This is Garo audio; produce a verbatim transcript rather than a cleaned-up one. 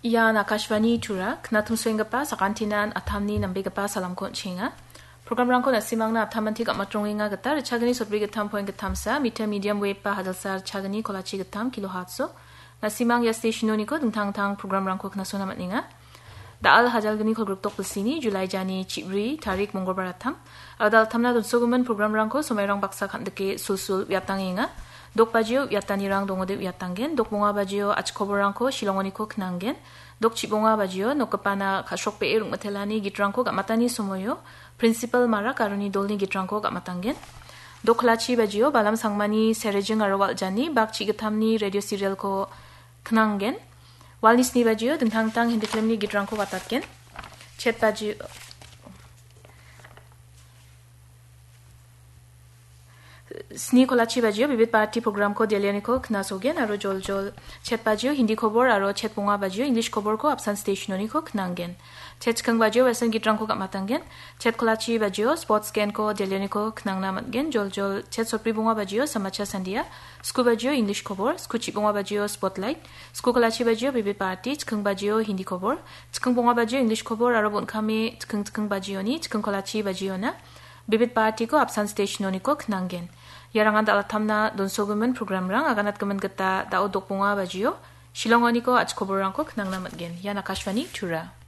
Ian Akashvani Tura, knatumsoenggipa sakantinan atamni nambegipa salamko on·chenga. Programrangko na·simangna atamantiko amatrongenga gita, richagini sotbri gittam point gittamsa, mita medium wave ba hajalsa richagini kolachi gittam kilohertzso. Na·simang ia stationoniko dingtang dingtang programrangko knasona man·enga. Da·al hajalgni kolgrikdok bilsini, July jani chibri tarik mongolbar atam. Aro da·altamna donsogimin programrangko somairang baksa kan·dike sulsul uiatangenga. Dok bajio uiatanirang dongode uiatanggen. Dok bonga bajio achikoborrangko Shillongoniko knanggen. Dok chibonga bajio nokgipana ka·srokbee rongmitelani gitrangko gam·atani somoio Principal Marak aroni dolni gitrangko gam·atanggen. Dok kolachi bajio Balam Sangmani Serejing aro Waljani bak chigitamni radio serialko knanggen. Walni sni bajio dingtang dingtang Hindi filmni gitrangko watatgen. Chet bajio, sni kolachi bajio Bibit Bharati programko Delhioniko knasogen aro joljol chet bajio Hindi kobor aro chet bonga bajio English koborko apsan stationoniko knanggen. Chet chikking bajio Western gitrangko gam·atanggen. Chet kolachi bajio Sports Genko Delhioniko knangna man·gen. Joljol chet sotbri bonga bajio Samacha Sandia. Sku bajio English kobor. Sku chibonga bajio Spotlight. Sku kolachi bajio Bibit Bharati. Chikking bajio Hindi kobor. Chikking bonga bajio English kobor aro bon·kame chikking chikking bajioni chikking kolachi bajiona Bibit Bharatiko apsan stationoniko knanggen. Iarangan da·altamna donsogimin programrang aganatgimin gita da·o dok bonga bajio Shillongoniko achikoborrangko knangna man·gen. Ian Akashvani Tura.